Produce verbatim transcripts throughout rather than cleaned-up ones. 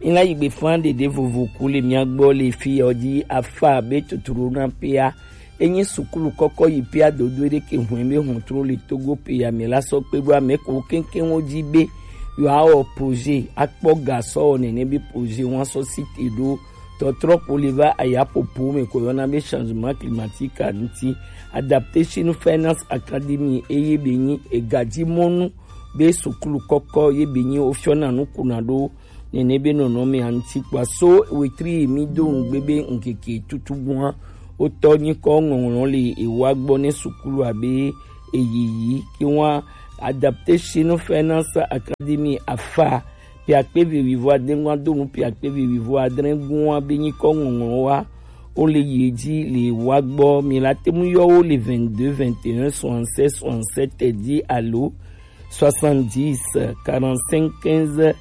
Ina yigbe fan ɖeɖe vovo ku le mia gbɔ le fi ɔ dzi afa be tuturu na pea. Enyi sukulu kɔkɔ yi pea dodo ɖe ke hwɛn be hɔntro le Togo pea me la sɔ kpe ɖo ame ko keŋkeŋ wo dzi be yewoawɔ projet akpɔ gasɔ nene be projet wɔn asɔ site ɖo tɔtrɔ ko le va aya popo me ko yɔna be changement climatique a ŋuti. Adaptation Finance Academy eye be nyi egadzi mɔnu be sukulu kɔkɔ ye be nyi wofiɔna nu kuna ɖo nene be nɔnɔme a ŋuti kpɔa. So wetri yi mi do ŋugbe be ŋkeke tutu gbɔa wotɔ nyikɔ ŋɔŋlɔ le ewa gbɔ ne sukulu abe eyiyi ke wa. Adaptation Finance Academy afa piakpe ve wivo adengua donu piakpe ve wivo adrengua be nyikɔ ŋɔŋlɔ wa. Wo le yi edzi le wa gbɔ mi la te ŋu yɔ wo le vingt-deux vingt et un soixante-seize soixante-sept dzi alo soixante-dix quarante-cinq quinze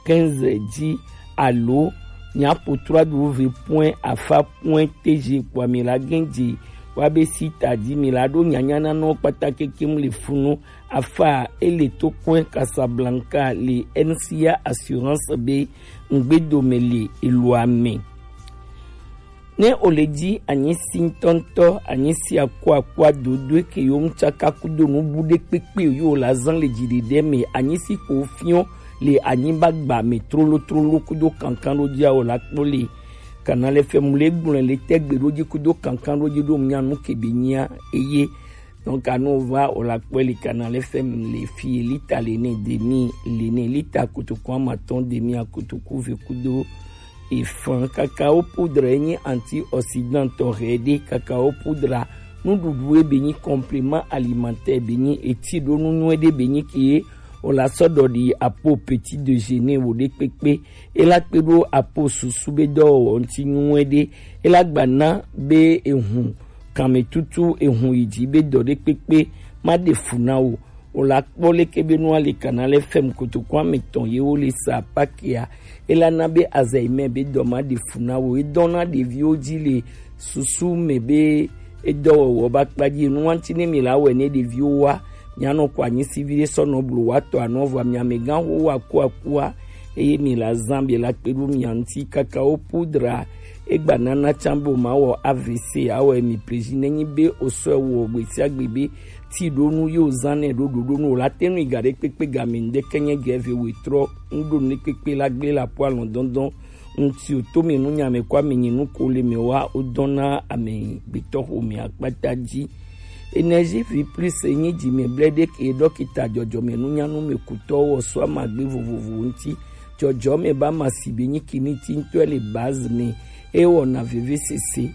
quinze dzi alo nyapo trois w point afa point tg kpɔa mi la gɛn dzi wa be si ta dzi mi la ɖo nyanya na nɔ kpata kekem le funu afa ele to kɔe Casablanca le N C A Assurance be ŋgbedome le eloa me. Ne o le dzi anyi si ŋutɔŋutɔ, anyi si akuakua dodoe ke yo ŋutsaka kudo nubu ɖe kpekpe yo la zan le dziɖeɖe me, anyi si ko fiɔ le anyigba gba me trolo trolo kudo kankan ɖo dzi awo la kpɔ le. Kana le fɛ mu le gblɔe le tɛgbe ɖo dzi kudo kankan ɖo dzi ɖo ŋu nya nu ke be nyia eye Donc, anu va o la kpɔe li Canal F M le fi lita le ne demi le ne lita kotoku amatɔn demi akotoku ve kudo efan. Cacao poudre enyi antioxydant tɔ hɛ ɖe. Cacao poudre nuɖuɖu ebe nyi complément alimentaire be nyi eti ɖo nu nyuie ɖe be nyi ke o la sɔ ɖɔ ɖi apo petit déjeuner wo ɖe kpekpe. E la kpe ɖo apo susu be dɔwɔwɔ ŋuti nyuie ɖe. E la gba na be ehun kanmɛ tutu ehun yi dzi be dɔ ɖe kpekpe ma ɖe fu na wo. O la kpɔ leke be nua le Canal F M kotoku ametɔn ye wo le sa pakea. E la na be Alzheimer be dɔ ma ɖe fu na wo. E dɔn na ɖeviwo dzi le susu me be edɔwɔwɔ ba kpa dzi. Enu wa ŋuti ne mi la wɛ ne ɖeviwo wa, mi anɔ ko anyi si vi ɖe sɔ nɔ blo wa tɔ anɔ vɔ mi amegã wo wa ku akua. Eye mi la zan be la kpe ɖo mia ŋuti. Cacao poudre egba nana can be o ma wɔ A V C awɔ mi prezi ne nyi be o sɔ wɔ gbe sia gbe be ti ɖo nu yo zan nɛ ɖo ɖoɖo nu o la te nu iga ɖe kpekpe game ŋɖe ke nye gɛ ve wetrɔ ŋɖo nu ɖe kpekpe la gble la po alɔ dɔndɔn ŋuti o to me nu nya me ko ame nyi nu ko le me wa o dɔn na ame gbetɔ xo me akpata dzi. Énergie vie plus enyi dzi me ble ɖe ke dɔkita dzɔdzɔme nu nya nu me kutɔ wɔ so ama gbe vovovo ŋuti. Dzɔdzɔme ba ma si be nyi kini ti ŋutɔ le base ne e wɔna veve sese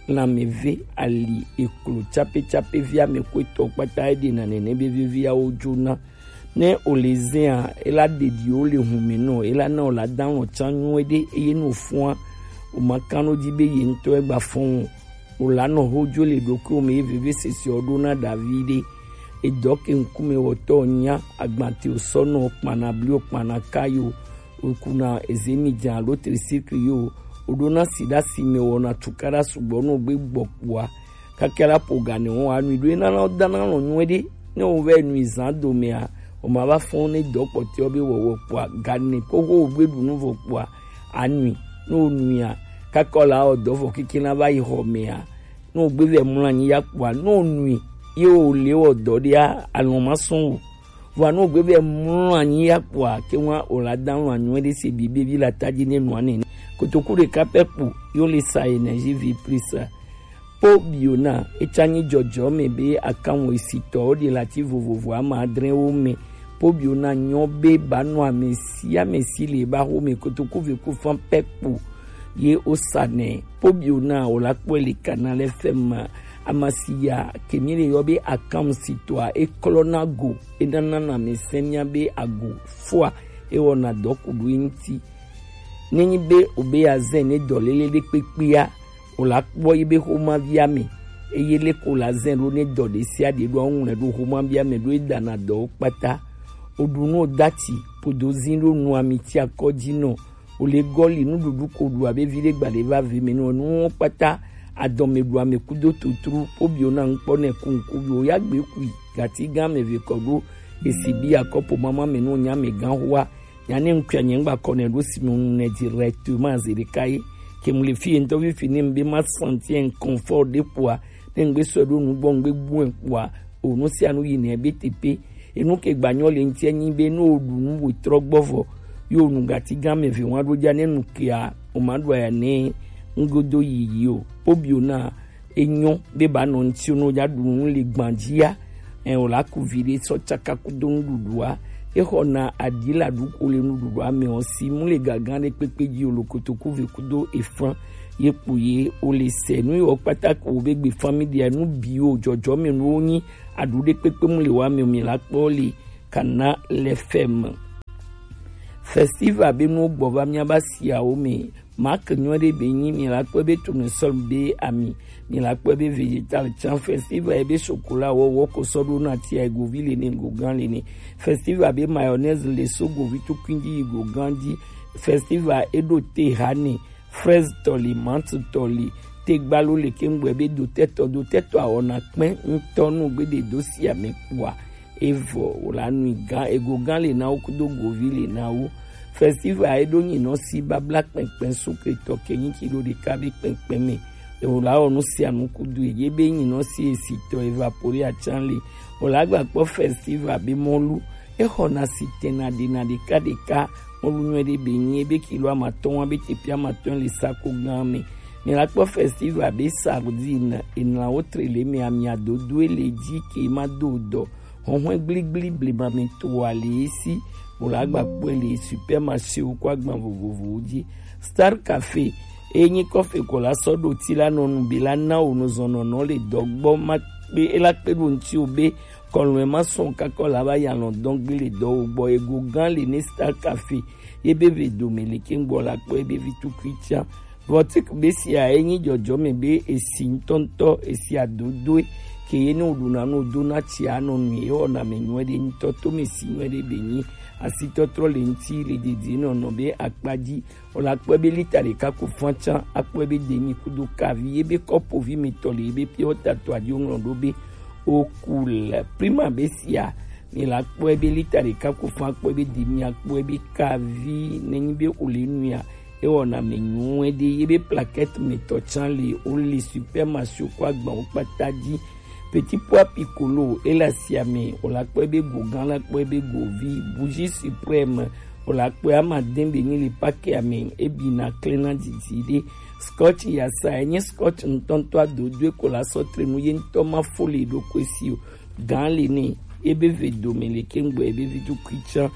lãmeve ali eklo tsapetsape via me ko etɔ kpata e ɖe na nene be veviawo dzona. Ne o le zea, e la ɖeɖi o le hun me nɔ, e la na o la dan o tsan nyuie ɖe eye no fua o ma kan no dzi be ye ŋutɔ e gba fɔn o. O la nɔ ho dzo le ɖokuiwo me ye veve sese o ɖo na Davide. Edɔ ke ŋkume wɔtɔ nya agbate o sɔ nɔ kpana bli o kpana kayo o kuna ezemi dza alo trisikli yo o ɖo na si ɖa si me wɔna tukaɖa sugbɔ no gbe gbɔ kpua. Kaka la po gane wo anui ɖo ena la dana lɔ nyuie ɖe. Ne wo vɛ nui zan do mea, o ma va fɔn ne dɔ kpɔtɔ be wɔwɔ kpua gane ko wo gbe ɖu nu vɔ kpua anui. Ne o nuia, kaka la o dɔ vɔ keke na va yi xɔ mea, ne o gbe vɛ mlɔ anyi ya kpua, ne o nui ye o le wɔ dɔ ɖia alɔ ma sɔn o. Vɔa ne o gbe vɛ mlɔ anyi ya kpua ke wa o la dan lɔ anyuie ɖe se bi be vi la ta dzi ne nua nene. Kotoku ɖeka pɛ kpo yo le sa énergie vie plus. Po biona etsa nyi dzɔdzɔ me be akanwo esitɔwo ɖe lati vovovo ama adre wo me. Po biona nyɔ be ba nɔ ame si ame si le ba ho me kotoku ve ku fan pɛ kpo ye o sa nɛ. Po biona o la kpɔe le Canal F M amasiya ke mi le yɔ be akanwo sitɔa e klɔ na go e nana na ame sɛn mia be ago fua e wɔna dɔ ku ɖo eŋuti. Nenyi be o be ya zɛn ne dɔ lele ɖe kpekpea, o la kpɔ yi be xomavia me. Eye leke o la zɛn ɖo ne dɔ ɖe sia ɖe ɖo aŋlɔe ɖo xomavia me ɖo e dana dɔwo kpata. O ɖu nu o dati podo zin ɖo nu ami ti akɔ dzi nɔ. O le gɔli nuɖuɖu ko ɖu abe vi ɖe gba ɖe va ve me nɔ nuwo kpata. Adɔme ɖu ame kudo tutru po bi o na ŋkpɔ nɛ ku ŋku bi o ya gbe kui gati gã me ve kɔ ɖo esi bi akɔpo mama me nɔ nya me gã hoa. Nya ne ŋkua nye ŋgba kɔ ne ɖo si me ŋu ne directement ze ɖeka ye. Ke mu le fi ye ŋutɔ fifi ne ŋbe ma sentir inconfort ɖe kpoa, ne ŋgbe sɔ ɖo nu gbɔ ŋgbe bu kpoa, o nu sia nu yi ne be tepe. Enu ke gba nyɔ le ŋuti enyi be ne o ɖu nu wo trɔ gbɔ vɔ, yo nu gati gã me ve wa ɖo dza ne nu kea, o ma ɖu aya ne ŋgodo yiyi o. Obio na enyo be ba nɔ ŋuti no dza ɖu nu le gbandzia. Ɛ, o la ku vi ɖe sɔ tsaka kudo nuɖuɖua. Exɔna aɖi la ɖu ko le nuɖuɖua me o si mu le gaga ɖe kpekpe dzi o lo kotoku ve kudo efan ye kpo ye o le se nu yo kpata ko be gbe family nu bi o jɔjɔ me nu o nyi aɖu ɖe kpekpe mu le wa me o mi la kpɔ le kana le fɛ me. Festival be nu gbɔ va mia ba siawo me. Mark nyuie ɖe be nyi mi la kpɔ be tournesol be ami, mi la kpɔ be vegetal tsan festival ebe chocolat wɔwɔ ko sɔ ɖo na tia egovi le ne gogan le ne. Festival be mayonnaise le so govi tukui dzi yi gogan dzi. Festival eɖo te ha ne fraise tɔ li, menthe tɔ li, te gbalo le ke ŋgbɔ ebe do tɛtɔ do tɛtɔ awɔ na kpɛ ŋutɔ nu gbe de do sia me kpoa. Evɔ wòle anui gã ego gã le na wo kudo govi le na wo. Festival eɖo nyinɔ si babla kpɛnkpɛn sukle tɔ ke nyi tsi ɖo ɖeka be kpɛnkpɛn me. Wòle awɔ nu sia nu kudo ye be nyinɔ si esi tɔ evapore atsan le. Wòle agba kpɔ festival be mɔlu. Exɔna si tena ɖena ɖeka ɖeka. Mɔlu nyuie ɖe be nyi ebe kilo amatɔn wa be tepi amatɔn le sako gã me. Mi la kpɔ festival be sardine enlawo tre le me amia dodo le dzi ke ma do dɔ. Hɔnhɔn gbligblí blema mi to ali esi wòle agba kpɔe le supermarché wo kɔ agban vovovowo dzi. Star Cafe eye nyi kɔfe ko la sɔ ɖo ti la nɔ nu be la na wo nuzɔnɔnɔ le dɔ gbɔ ma kpe ela kpe ɖo ŋuti wo be kɔlɔn ma sɔn kakɔ la va ya lɔn dɔn gbe le dɔ wo gbɔ ego gã le ne Star Cafe ye be ve dome le ke ŋgbɔ la kpɔ ye be vi tukui tia. Vɔtik be sia ye nyi jɔjɔme be esi ŋutɔŋutɔ esi adodoe ke ye ne woɖuna no dona tsi anɔ nu ye wɔna me nyuie ɖe ŋutɔ to me si nyuie ɖe be nyi asitɔtrɔ le ŋuti le didi nɔnɔ be akpa dzi. Wòle akpɔe be lita ɖeka ko fã tsã akpɔe be demi kudo kavi ye be kɔpovi mi tɔ le ye be piɔ tato adi woŋlɔ ɖo be oku le prima be sia. Mi la kpɔe be lita ɖeka ko fã akpɔe be demi akpɔe be kavi nenyi be wòle nuya. Ewɔna me nyuie ɖe ye be plaquette me tɔ tsã le wole supermarché ko agbawo kpata dzi. Petit pois piccolo ele asia me wòle akpɔe be go gã la kpɔe be govi bougie suprême wòle akpɔe ama de be nyi le pake ame ebi na klẽ na didi ɖe. Scotch yasa enye scotch ŋutɔŋutɔ adodoe ko la sɔ tre nu ye ŋutɔ ma fo le ɖokui si o. Gã le ne ebe ve dome le ke ŋgbɔ ebe vi tukui tsã.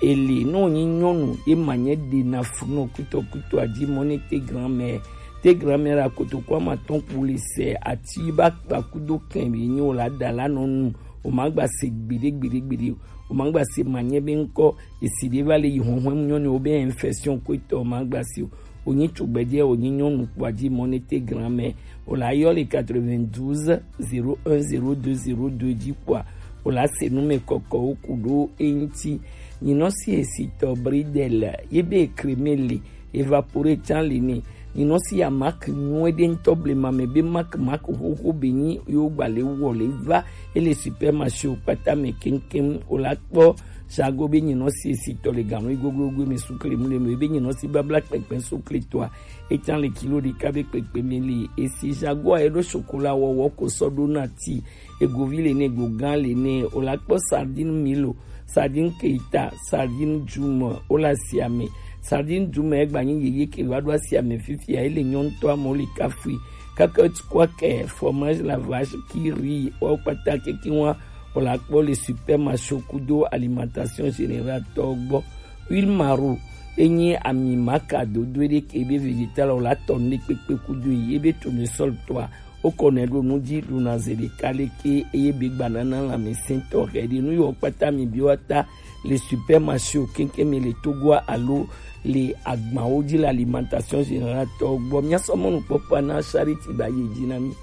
Ele ne wònyi nyɔnu ye ma nye ɖe na fu nɔ kutɔkutɔ adzi mɔ ne te grand-mère. Te grand-mère la kotoko ama tɔn ku le se ati ba kpa kudo kɛn be nyi wòle ada la nɔ nu. O ma gba se gbeɖe gbeɖe gbeɖe o. O ma gba se ma nye be ŋkɔ esi ɖe va le yi hɔnhɔn nyɔnu wo be infection ko etɔ o ma gba se o. Wònyi tugbedzɛ wònyi nyɔnu kpoa dzi mɔ ne te grand-mère wòle ayɔ le quatre-vingt-douze zéro un zéro deux zéro deux dzi kpoa wòle ase nu me kɔkɔwo ku ɖo eŋuti. Nyinɔ si esi tɔ bridel ye be creme le evapore tsã le ne. Nyinɔ si ya mak nyuie ɖe ŋutɔ blema me be mak mak xoxo be nyi yewo gba le wɔ le va ele supermarché wo kpata me keŋkeŋ wòle akpɔ Sago be nyinɔ si esi tɔ le ganu igoglogo me sukle mu le me be nyinɔ si babla kpɛkpɛ sukle tɔa. Etsan le kilo ɖeka be kpekpe me li esi Jaguar eɖo sokola wɔwɔ ko sɔ ɖo na ti egovi le ne go gã le ne o la kpɔ sardine milo, sardine keita, sardine djuma o la siame. Sardine djuma egba nyi yeye ke va ɖo asiame fifia ele nyɔntɔ amewo le kafui. Kakɔt kwakɛ, fromage la vache qui rit, wo kpata keke wa o la kpɔ le supermarché kudo alimentation générale tɔ gbɔ. Huile maro enyi ami maka dodo ɖe ke be vegetal o la tɔ ne kpekpe kudo ye be tournesol tɔa. O kɔ ne ɖo nu dzi ɖuna ze ɖeka leke eye be gba nana lãmesẽtɔ ɣeɖe nu yiwo kpata mi bi wa ta le supermarché o keŋkeŋ mi le Togoa alo le agbawo dzi le alimentation générale tɔ gbɔ. Mia sɔ mɔnukpɔkpɔ na Charity ba yi dzi na mi.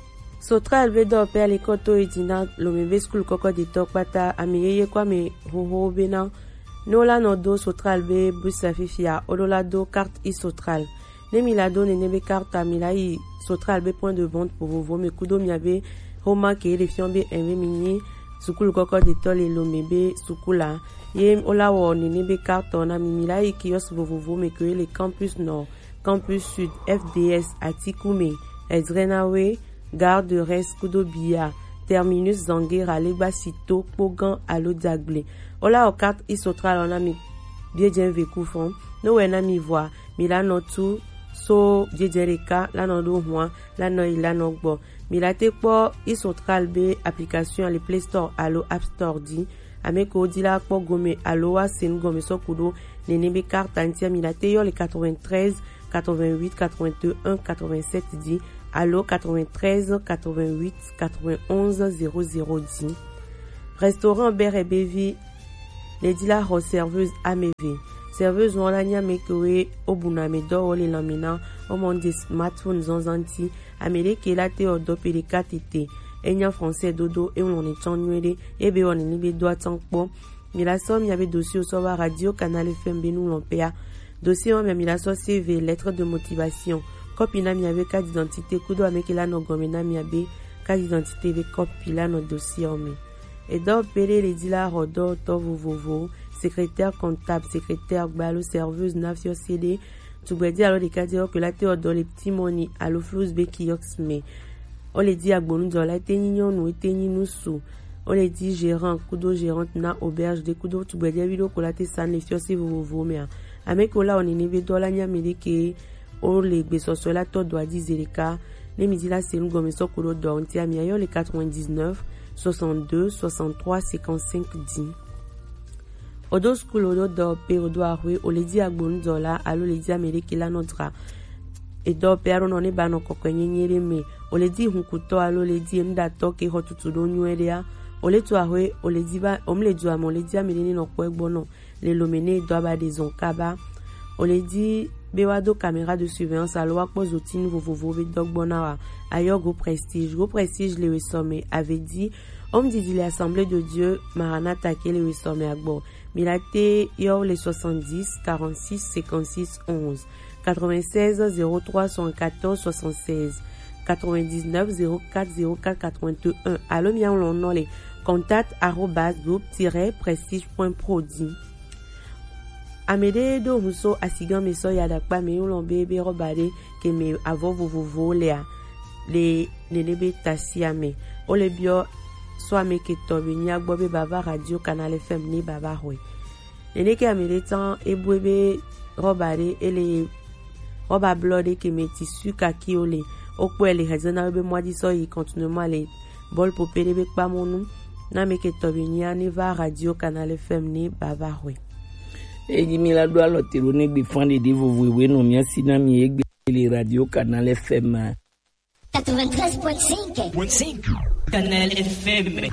Sotral be dɔwɔƒea le kɔ to yi dzi na Lome be skul kɔkɔ detɔ kpata, ame yeye kɔ ame xoxowo bena ne wola nɔ do Sotral be bus la fifia, woɖo la do carte e-Sotral. Ne mi la do nene be carte a, mi la yi Sotral be point de vente vovovo me kudo mia be xoma ke le fiɔ be ɛn be mi nyi sukulu kɔkɔ detɔ le Lomé be sukula, ye wola wɔ nene be carte na mi, mi la yi kiosque vovovo me ke le Campus Nord, Campus Sud, F D S, Atikume, Ezrenawe, Gare de Reims kudo Bia, Terminus, Zanguera, Legba Sito, Kpogan alo Dagble. Wola wɔ carte Isotral na mi biejɛn ve ku fɔn. No wɛ na mi vɔa, mi la nɔ tu so biejɛn ɖeka la nɔ ɖo hua, la nɔ yi la nɔ gbɔ. Mi la te kpɔ Isotral be application le Play Store alo App Store di. Ame ko di la kpɔ gome alo wa se nu gɔme sɔ kudo nene be carte ŋutia, mi la te yɔ le quatre-vingt-treize, quatre-vingt-huit, quatre-vingt-un, quatre-vingt-sept di alo quatre-vingt-treize, quatre-vingt-huit, quatre-vingt-onze, zéro zéro di. Restaurant Bere Bevi le di la xɔ serveuse ameve. Serveuse wɔn la nya me ke we o buna me dɔ wɔ le lamina o mɔ de smartphone zanzan ti. Ame ɖe ke la te wɔ dɔ pe ɖeka tete. Enya français dodo, e ŋlɔ ne tsɔn nyuie ɖe, e be wɔ nene be do atsɔn kpɔ. Mi la sɔ mia be dossier sɔ va Radio Canal F M be nu ŋlɔ pea. Dossier wa mia mi la sɔ C V, lettre de motivation. Kɔpi na mia be carte d'identité kudo ame ke la nɔ gɔme na mia be carte d'identité be kɔpi la nɔ dossier me. Edɔ pe ɖe le di la xɔ dɔwɔtɔ vovovo, secrétaire comptable, secrétaire gba alo serveuse na fiɔ se ɖe. Tugbɛdi alo ɖekadi ɔ ke la te wɔ dɔ le Petit Money alo Flows be kiosk me. Wo le di agbonudɔla, e te nyi nyɔnu, e te nyi nusu. Wo le di gérant kudo gérante na auberge ɖe kudo tugbɛdi vi ɖo ko la te sa le fiɔ se vovovo mea. Ame ke wo la wɔ nene be dɔ la nya mi ɖe ke wo le gbesɔsɔ la tɔ dɔ adi ze ɖeka. Ne mi di la se nu gɔme sɔ ko ɖo dɔ ŋutia, mi ayɔ le quatre-vingt-dix-neuf, soixante-deux, soixante-trois, cinquante-cinq di. Odo sukulu, odo dɔwɔƒe, odo axwe, o le di agbonudɔla alo le di ame ɖe ke la nɔ dra edɔwɔƒe alo nɔ ne ba nɔ kɔkɔe nyenye ɖe me, o le di hunkutɔ alo le di enuɖatɔ ke xɔ tutu ɖo nyuie ɖea, o le tu axwe, o le di ba, o mu le du ame, o le di ame ɖe ne nɔ kpɔe gbɔ nɔ le Lomé ne dɔ aba ɖe zɔn kaba. O le di be wa do caméra de surveillance alo wa kpɔ zotinu vovovo be dɔ gbɔ na wa. Ayɔ Go Prestige. Go Prestige le wesɔ me, ave di Homme didi le Assemblée de Dieu Maranatha ke le wesɔ me agbɔ. Mi la te yɔ le soixante-dix, quarante-six, cinquante-six, onze, quatre-vingt-seize, zéro trois, soixante-quatorze, soixante-seize, quatre-vingt-dix-neuf, zéro quatre, zéro quatre, quatre-vingt-un. Alo mi awlɔ nɔ le contact arobase groupe tiret prestige point pro di. Ame ɖe ɖo ŋu so asigã me sɔ ya ɖakpa me ŋlɔ be be rɔba ɖe ke me avɔ vovovowo lea le nene be tasia me. Wo le biɔ so ame ke tɔ be nya gbɔ be bava Radio Canal F M ne bava xɔe. Nene ke ame ɖe tsan ebue be rɔba ɖe ele rɔba blɔ ɖe ke me tissu kaki wo le. Wo kpɔe le hezena be mɔa di sɔ yi continuellement le bɔl pope ɖe be kpamɔnu. Na ame ke tɔ be nyia ne va Radio Canal F M ne bava xɔe. Eyi mi la ɖo alɔ te ɖo ne gbe fan ɖeɖe vovo ewe nɔ mia si na mi egbe le Radio Canal F M. Quatre-vingt-treize point cinq. Canal F M.